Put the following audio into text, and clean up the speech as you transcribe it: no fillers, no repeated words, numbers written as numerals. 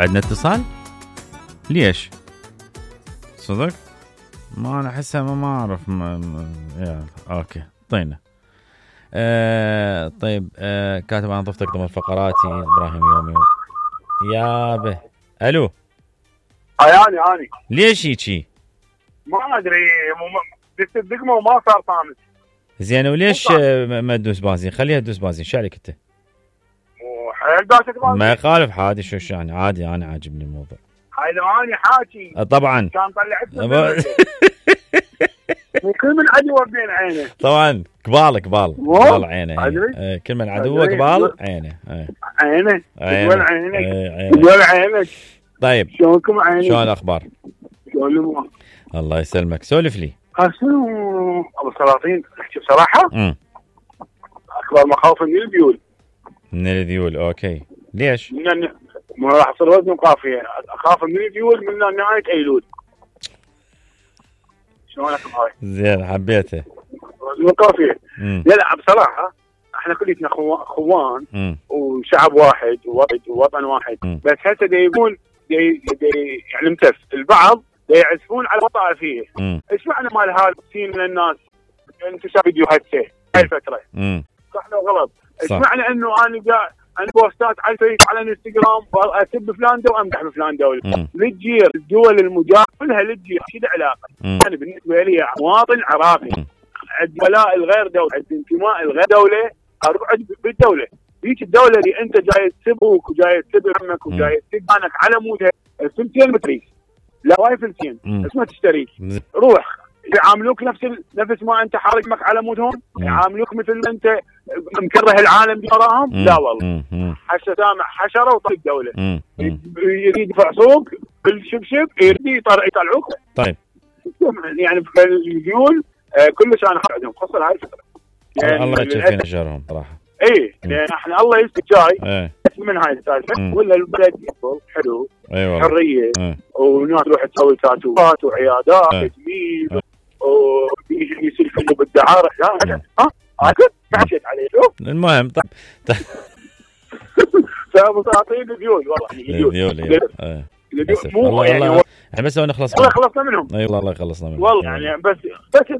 عندنا اتصال؟ ليش؟ صدق؟ ما انا احسها ما اعرف اوكي طينا. طيب كاتب انا ضفتك ضمن فقراتي ابراهيم يومي يابه. الو اني ليش هيجي؟ ما ادري دست الدقمه وما صار طامس. زين وليش ما تدوس بازين؟ خليها تدوس بازين. شو عليك انت؟ وحيل داسك بازين ما يخالف عادي. شو يعني عادي. انا عاجبني الموضوع. هاي لو اني حاكي طبعا كان طلعت كل من عدو بين عينه. طبعا قبال عينه. كل من عدوه قبال عينه. عينه عينك. طيب شلونكم عيني؟ شلون الاخبار؟ شلون الله يسلمك. سولف لي. شنو ابو السلاطين احكي بصراحه؟ اكبر مخاوف من الذيول. اوكي ليش؟ ما راح اصير وزن وقافيه. اخاف من الذيول من نهايه ايلول. شلونك هاي؟ زين حبيته. وزن وقافيه. لا بصراحه احنا كلنا خوان وشعب واحد ووطن واحد. بس هسه يقول يعني متف البعض يعزفون على طائفيه. ايش معنى مال هذا السين من الناس انتشر فيديوهات هاي الفتره؟ صح لو غلط؟ ايش معنى انه انا بوستات على الفيس على الانستغرام اسب فلان دوله وامدح بفلان دوله؟ للجير الدول المجاوره كلها للجير شو علاقه؟ انا بالنسبه لي مواطن عراقي عندي ولاء الغير دوله، عندي انتماء الغير دوله، اقعد بالدوله. هيك الدوله اللي انت جاي تسبك وجاي تسب عمك وجاي تسب عنك على مودها الفلسين متريك لا واي فلسين اسمها تشتريك. روح يعاملوك نفس ما انت حارقمك على مودهم، يعاملوك مثل ما انت مكره العالم وراهم. لا والله هسه سامع حشره وطلع الدوله يريد يفعصوك بالشبشب يريد يطلعوك. طيب يعني الذيول كلش انا عندهم خاصه هاي الفتره. يعني الله يجزي فينا شرهم صراحه. لان احنا الله يستر جاي من هاي السالفه ولا البلد يفضل حلو. حريه وناس تروح تسوي تاتوات وعيادات تجميل ويصير كله بالدعاره. لا حكيت عليه. شوف المهم طيب فابو سلاطين الذيول والله مو يعني احنا بس نخلص والله خلصنا منهم. اي والله خلصنا منهم والله يعني بس